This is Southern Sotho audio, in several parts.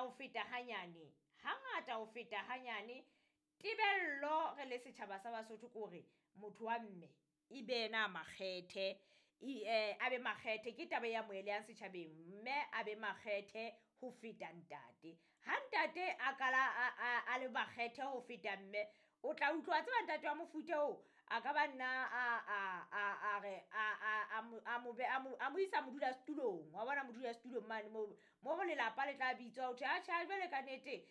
Hangata ho feta hanyane, hangata ho feta hanyane tebello re le setjhaba sa Basotho ke hore motho wa mme e be yena a makgethe a be makgethe ke taba e amohelehang setjhabeng mme a be makgethe ho feta ntate. Ha ntate a kala a le makgethe ho feta mme o tla utlwa wa tseba ntate wa mofuta oo a ka ba nna a re a mo isa modula setulong wa bona modula setulong mane moo mo lelapa le tla bitswa ho thwe atjhe ha jwale ka nnete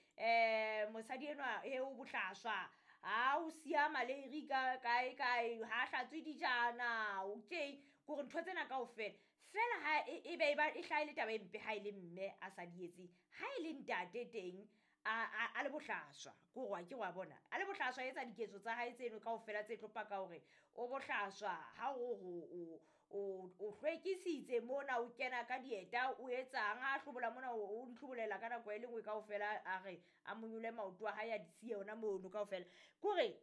mosadi enwa he o bohlaswa ha o siya maleiri ka kae kae ha hlatswe dijana o tje kore ntho tsena kaofela fela ha e be e ba e hlaha e le taba e mpe ha e le mme a sa di etseng ha e le ntate teng a le bohlaswa ke hore wa ke wa bona a le bohlaswa a etsa diketso tsa hae tseno kaofela tse tlo paka hore o bohlaswa ha o o hlwekisitse mona o kena ka dieta o etsang ha hlobola mona o di hlobolela ka nako e le nngwe kaofela a re a monyole maoto a hae a di siye ona mono kaofela kore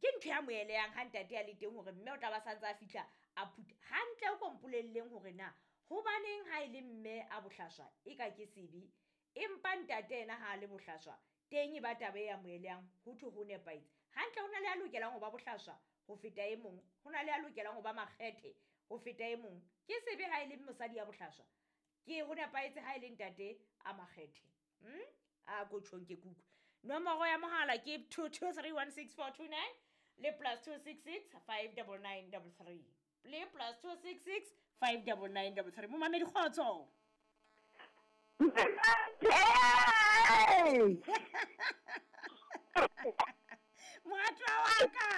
ke ntho ya moeleyang ha ntate a le teng hore mme o tla ba santse a fihla a phutha hantle o ko mpolelleng hore na hobaneng ha e le mme a bohlaswa e ka ke sebe empa ntate ena ha a le bohlaswa teng e ba taba e amohelehang ho thwe ho nepahetse hantle ho na le a lokelang ho ba bohlaswa ho feta e mong ho na le a lokelang ho ba makgethe ho feta e mong ke sebe ha e le mosadi ya bohlaswa ke ho nepahetse ha e le ntate a makgethe A ko tjhong ke kuku nomoro ya mohala ke 22316429 le plus 266 59933 le plus 266 59933 momamedi kgotso. Moratwa wa ka.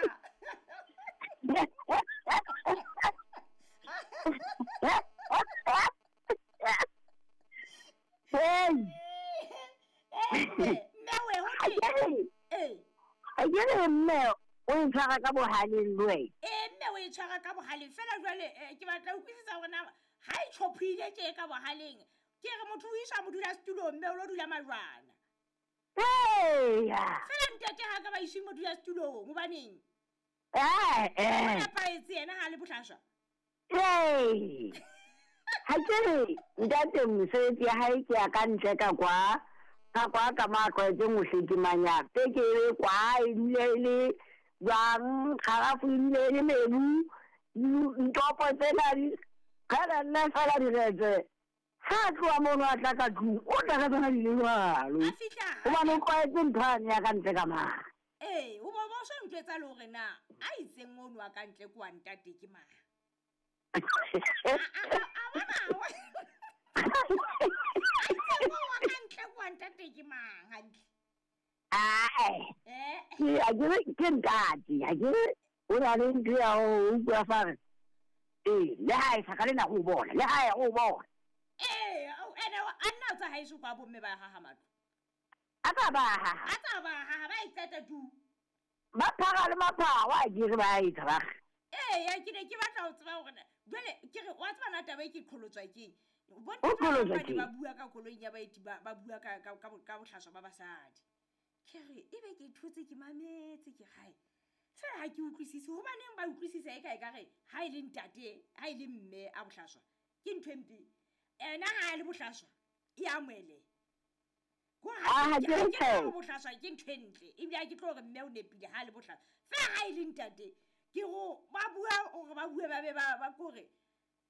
Akere mme o e tshwara ka bohaleng le wena. Ee mme o e tshwara ka bohaleng fela jwale ke batla ho utlwisisa hore na ha e tjhophile tje ka bohaleng ke re motho o iswa modula setulong mme o lo dula majwana. Eya. Fela ntate ha ka ba iswe modula setulong hobaneng? Eh eh. O nepahetse yena ha le bohlaswa. Ee. Ha ke re ntate mosebetsi ya hae ke ya ka ntle ka kwa ka kwa ka mo a tlwaetseng ho hlekemanya pekere kwa e dule e le jwang kgarafu e dule e le mebu ntopo tsena di qhela nna fela diretse ha a tloha mono a tla ka tlung o tla ka tsona di le jwalo A fihla hobane o tlwaetse ntho yane ya ka ntle ka mane. Ee, o bo bo so ntjwetsa le hore na a itseng ono wa ka ntle ke wa ntate ke mang. A bona a itseng o wa ka ntle ke wa ntate ke mang hantle. Ae. Eh. Ke a ke re ke ntate, ha ke re o na le ntho ya ho utlwa fa re ee le ha e sa ka le nako o bona, le ha e o bona. Ee, ene a nna o tsa haeso kwa bomme ba haha matlo. A tsa ba haha. A tsa ba haha ba e qeta tu. Ba phara le mapharo a ke re ba etsa ba re. Ee, ke ne ke batla ho tseba hore jwale ke re wa tseba na taba e ke qholotswa keng. O Bontate ba qholotswa bang ba ne keng? ba bua ka koloing ya baeti ba ba bua ka ka ka bohlaswa ba basadi. Ke re ebe ke thotse ke mametse ke hae. Fela ha ke utlwisise hobaneng ba utlwisisa e ka e ka re ha e le ntate, ha e le mme a bohlaswa ke ntho e mpe. Ena ha a le bohlaswa e amoheleha. Ko Ah, ha ha ke ke re ha ke tlo tjhe. bohlaswa ke ntho e ntle ebile ha ke tlo hore mme o nepile ha a le bohlaswa. Fela ha e le ntate ke go ba bua hore ba bue ba be ba ba kore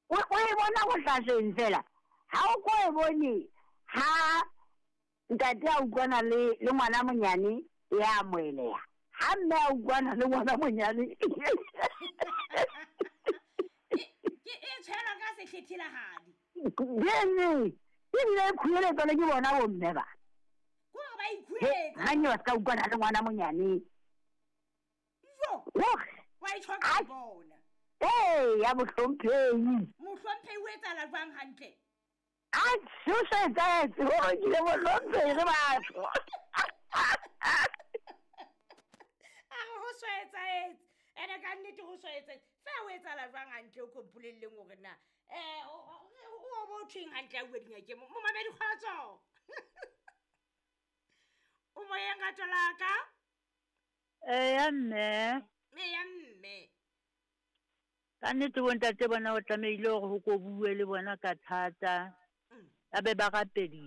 O o e bona bohlasweng fela ha o ko e bone ha ntate a utlwana le le ngwana monyane ya amoheleha ha mme a utlwana le ngwana monyane ke e tshwelwa ka sehlethilahadi. Bene ebile e khueletswa le ke bona bomme ba. Ke hore ba He ikhueletsa. ganne ba ska utlwana le ngwana monyane. Jo. Hore. Wa e tjho ka bona. Ee, ya mohlomphehi. Mohlomphehi o etsahala jwang hantle? A tshosetsetse hore ke le mohlomphehi re batho. A re ho so etsahetse. Ene ka nnete ho so etsahetse. Fela ho etsahala jwang hantle o ko mpolelleng hore na o bo thweng hantle a bua dingakeng. Momamedi kgotso. O moyeng rato la ka? Eya mme. Eya mme. Ka nnete bontate bona o tlamehile hore ho ko bue le bona ka thata. Ba be ba rapediswe.